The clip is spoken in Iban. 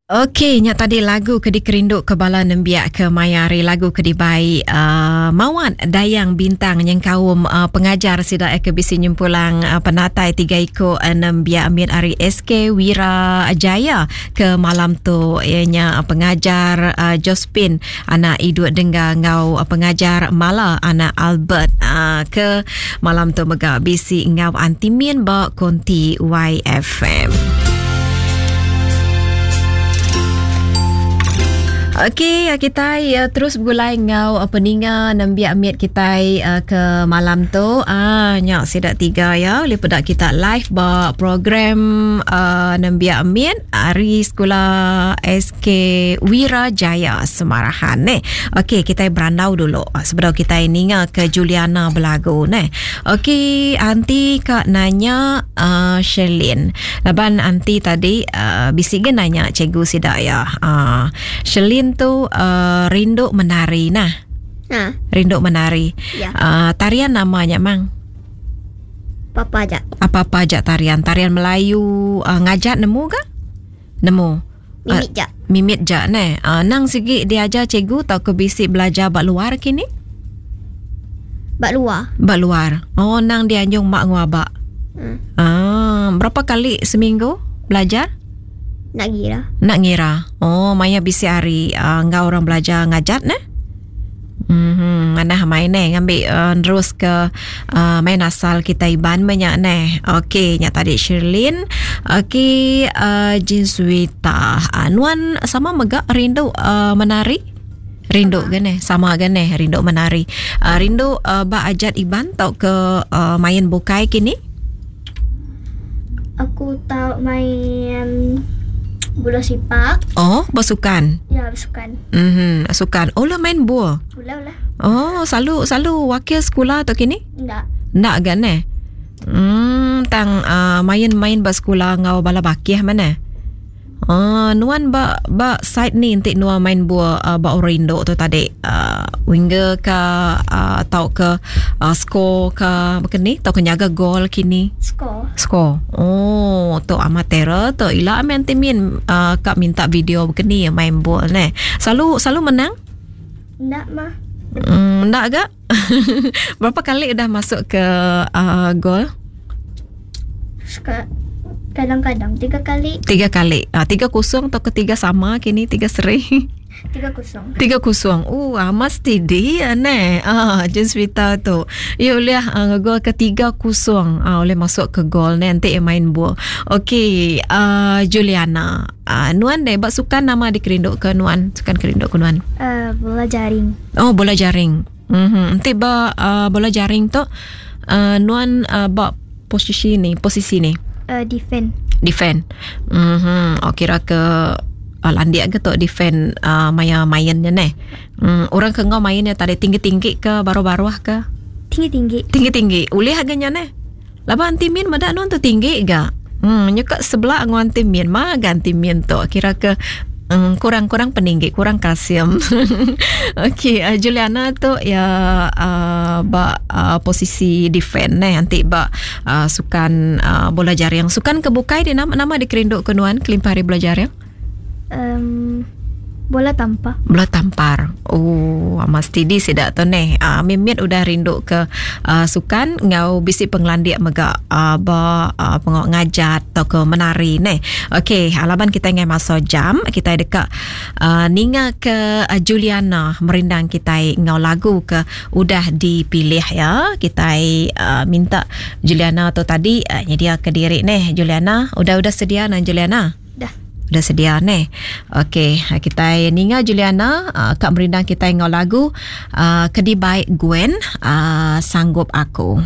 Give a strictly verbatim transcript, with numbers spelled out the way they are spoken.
Okey, nya tadi lagu ke dikerindu ke bala nembiak ke maya hari lagu ke dibai uh, Mawat Dayang Bintang nyengkaum uh, pengajar sida ke bisi nyempulang uh, penatai tiga iku uh, nembiak mit ari S K Wira Jaya ke malam tu ianya pengajar uh, Josephine anak Idut Dengga ngau uh, pengajar Mala anak Albert uh, ke malam tu mega bisi ngau Antimin ba konti Y F M. Okey, kita uh, terus bergulai ngau uh, peninga nembiak mit kita uh, ke malam tu. Ah, nyak sidak tiga ya. Boleh pedak kita live ba program uh, nembiak mit hari sekolah S K Wira Jaya Semarahan ne. Okey, kita berandau dulu sebelum kita ninga ke Juliana berlagu ne. Okey, anti kak nanya uh, Sherlyn. Laban anti tadi uh, bisik ge nanya cikgu sidak ya. Uh, Sherlyn tu uh, rindu menari nah. Ha. Rindu menari. Ya. Uh, tarian namanya mang? Apa-apa aja. Apa-apa aja tarian. Tarian Melayu uh, ngajak nemu ke? Nemu. Mimit uh, jak. Mimit jak ne. Uh, nang segi diajar cikgu atau ke bisi belajar bak luar kini? Bak luar. Bak luar. Oh, nang dianjung mak nguabak. Hmm. Ah, berapa kali seminggu belajar? Nak ngira. Nak ngira. Oh, maya bisi hari uh, ngau orang belajar ngajat ne? Mhm, mana main ne ngambil uh, terus ke uh, main asal kita Iban banyak ne. Okey, nya tadi Sherlyn. Okey, uh, Jinsuita. Uh, nuan sama mega rindu uh, menari? Rindu ke ne? Sama ke ne? Rindu menari. Uh, rindu uh, ba ajat Iban tau ke uh, main bukai kini? Aku tahu main bola sepak. Oh, bersukan. Ya, bersukan. Mhm, sukan. Oh lah main bola. Bola lah. Oh, selalu selalu wakil sekolah atau kini? Enggak. Enggak kan eh? Hmm, tang uh, main-main bersekolah ngau bala bakih mana? Oh, nuan ba ba side ni entik nuan main bola uh, ba orindo tu tadi. Uh, winger ke uh, atau ke uh, score ke macam ni atau ke nyaga gol kini? Score. Score. Oh, tu amatir tu ila amen timin uh, kak minta video begini main bola ne. Selalu selalu menang? Enggak mah. Hmm, enggak agak? Berapa kali dah masuk ke uh, gol? Suka kadang-kadang tiga kali. Tiga kali. Ah, tiga kosong atau ketiga sama kini tiga seri. Tiga kosong. Tiga kosong. Oh, amat steady ya ne. Ah, Jenswita tu. Ya boleh uh, gol ketiga kosong. Ah, boleh masuk ke gol ne nanti main bola. Okey, uh, Juliana. Ah, nuan deh bak sukan nama dikerinduk ke nuan? Sukan kerinduk ke nuan? Uh, bola jaring. Oh, bola jaring. Mhm. Nanti bak uh, bola jaring tu uh, nuan uh, bak posisi ni, posisi ni. Uh, defend. Defend. Mhm. Oh, kira ke uh, landiak ke tok defend uh, maya mainnya ne. Mm, orang ke ngau mainnya tadi tinggi-tinggi ke baru-baru ke? Tinggi-tinggi. Tinggi-tinggi. Ulih agaknya ne. Laba anti min madak non tu tinggi ga. Hmm, nyekak sebelah ngau anti min ma ganti min tok kira ke mm, kurang-kurang peninggi, kurang kalsium. Okey, uh, Juliana tu ya uh, ba uh, posisi defend ne nanti ba uh, sukan uh, bola jaring. Sukan kebukai dia nama nama dikerinduk ke nuan kelimpah hari bola jaring? Um, bola tampar. Bola tampar. Oh, amat steady sidak tu ne. Ah, uh, mimit udah rindu ke uh, sukan ngau bisi penglandik mega uh, ba uh, pengok ngajat atau ke menari ne. Okey, alaban kita ngai masa jam, kita dekat uh, ninga ke uh, Juliana merindang kita ngau lagu ke udah dipilih ya. Kita uh, minta Juliana tu tadi uh, nyedia ke diri ne. Juliana, udah-udah sedia nan Juliana? Dah. Udah sedia ne. Okey, kita ninga Juliana uh, kak merindang kita ngau lagu uh, Kedi Baik Gwen uh, Sanggup Aku.